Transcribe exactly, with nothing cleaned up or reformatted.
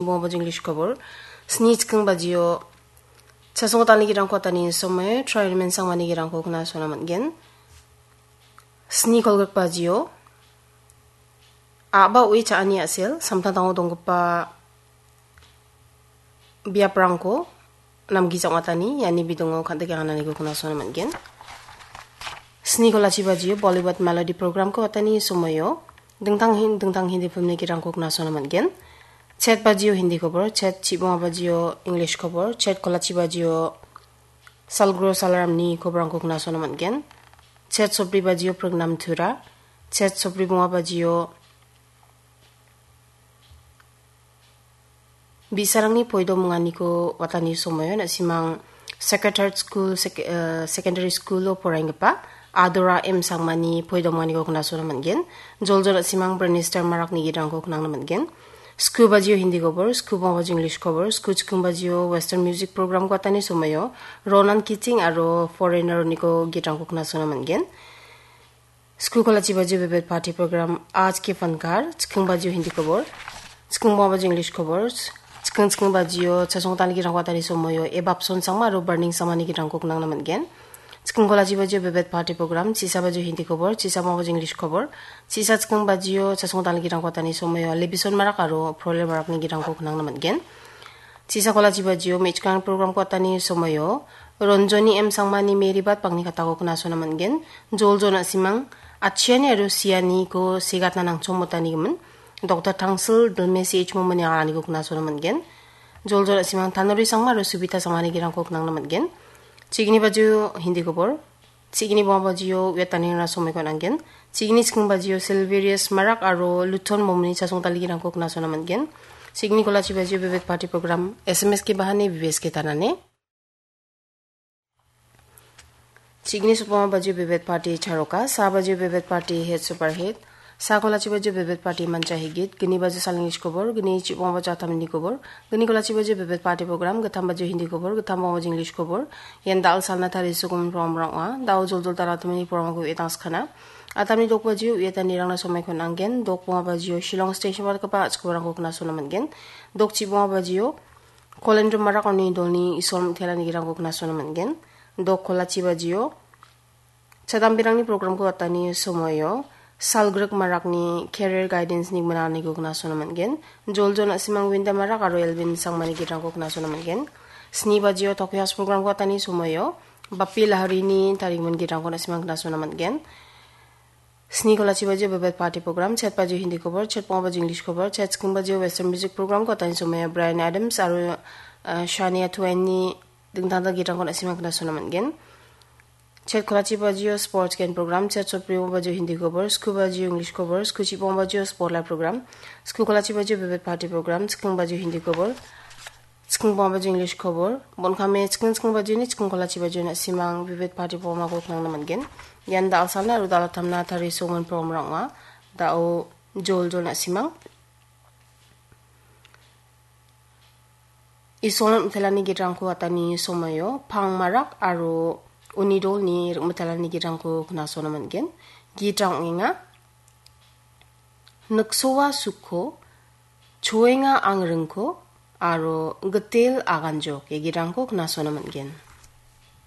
Bongbong English kobor. Sni chikking bajio chasong talni girangko atani somoio trial men sangmani girangko kna sona man·gen. Sni kolgrik bajio a·ba ue cha·ani a·sel samtangtango donggipa biaprangko namgijak matani iani bidongo kandike ananiko kna sona man·gen. Sni kolachi bajio Bollywood melody programko atani somoio dingtang hin-, dingtang Hindi filmni girangko kna sona man·gen. Chet bajio Hindi kobor, chet chibonga bajio English kobor, chet kolachi bajio Salgro Salaramni koborangko kna sona man·gen. Chet sobri bajio Prognam Tura, chet sobri bonga bajio Bi·sarangni poido munganiko watani somoio na·simang Sacred Heart School, sek-, eh, Secondary School-o poraienggipa Adora M Sangmani poido munganiko kna sona man·gen. Joljol na·simang Brenister Marakni girangko knangna man·gen. Sku bajio Hindi kobor, sku bonga bajio English kobor, sku chikking bajio Western Music Program-ko watani somoio Ronan Keating aro Foreigner-oniko girangko kna sona man·gen. Sku kolachi bajio Vividh Bharati program Aaj Ke Fankar, chikking bajio Hindi kobor, chikking bonga bajio English kobor, chikking chikking bajio chasong talni girangko watani somoio Ebapson Sangma aro Burning Sangmani girangko knangna man·gen. Chikking kolachi bajio Vividh Bharati program, chisa bajio Hindi kobor, chisa bonga bajio English kobor, chisa chikking bajio chasong talni girangko watani somoio Lebison Marak aro Prole Marakni girangko knangna man·gen. Chisa kolachi bajio me·chikrang program-ko watani somoio Ronjoni M Sangmani Mary Bat Bangni Katako kna sona man·gen. Joljol na·simang Achiani aro Sianiko segatna nangchongmotanigimin Doktor Tangsil Dilme C H Momani anganiko kna sona man·gen. Joljol na·simang Tanuri Sangma aro Subita Sangmani girangko knangna man·gen. Chigni bajio Hindi kobor. Chigni bonga bajio uiatanirangna somoiko on·angen. Chigni chikking bajio Silverius Marak aro Luton Momni chasong talni girangko kna sona man·gen. Chigni kolachi bajio Vividh Bharati program S M S ke bahane V V S ke tanane. Chigni sopama bajio Vividh Bharati Charoka, sa bajio Vividh Bharati Hit Super Hit, sa kolachi bajio Vividh Bharati Mancha Higit, gni bajio Saleng English kobor, gni chibonga bajio Atamni kobor, gni kolachi bajio Vividh Bharati program, gittam bajio Hindi kobor, gittam bonga bajio English kobor, ian da·al salna tarisogimin program ong·a. Da·o joljol dal·a Atamni program-ko uiatangskana. Atamni dok bajio uiatanirangna somoiko on·angen, dok bonga bajio Shillong Station-o dakgipa a·chik koborangko kna sona man·gen, dok chibonga bajio Kolendro Marak aro uni dolni Isol Mitelani girangko kna sona man·gen, dok kolachi bajio Chadambirangni program-ko watani somoio Salgrik Marakni Career Guidance-ni gminaniko kna sona man·gen. Joljol na·simang Winda Marak aro Elvin Sangmani girangko kna sona man·gen. Sni bajio Tokyo House program-ko watani somoio Bapi Laharini tarigimin girangko na·simang kna sona man·gen. Sni kolachi bajio Vividh Bharati program, chet bajio Hindi kobor, chet bonga bajio English kobor, chet chikking bajio Western Music Program-ko watani somoio Bryan Adams aro, eh, Shania Twain-ni dingtang dingtang girangko na·simang kna sona man·gen. Chet kolachi bajio Sports Gen Program, chet sobri bonga bajio Hindi kobor, sku bajio English kobor, sku chibonga bajio Spotlight Program, sku kolachi bajio Vividh Bharati program, chikking bajio Hindi kobor, chikking bonga bajio English kobor, bon·kame chikking chikking bajioni chikking kolachi bajio na·simang Vividh Bharati program-ko knangna man·gen. Ian da·alsalna aro da·altamna tarisogimin program-rang ong·a. Da·o joljol na·simang Isol Mitelani gitrangko atani somoio pang marak aro uni dolni rik mitelani gitrangko knasona man·gen. Gitrang ong·enga. Niksoa sukko, choenga angringko, aro gitel aganjok, ia gitrangko knasona man·gen.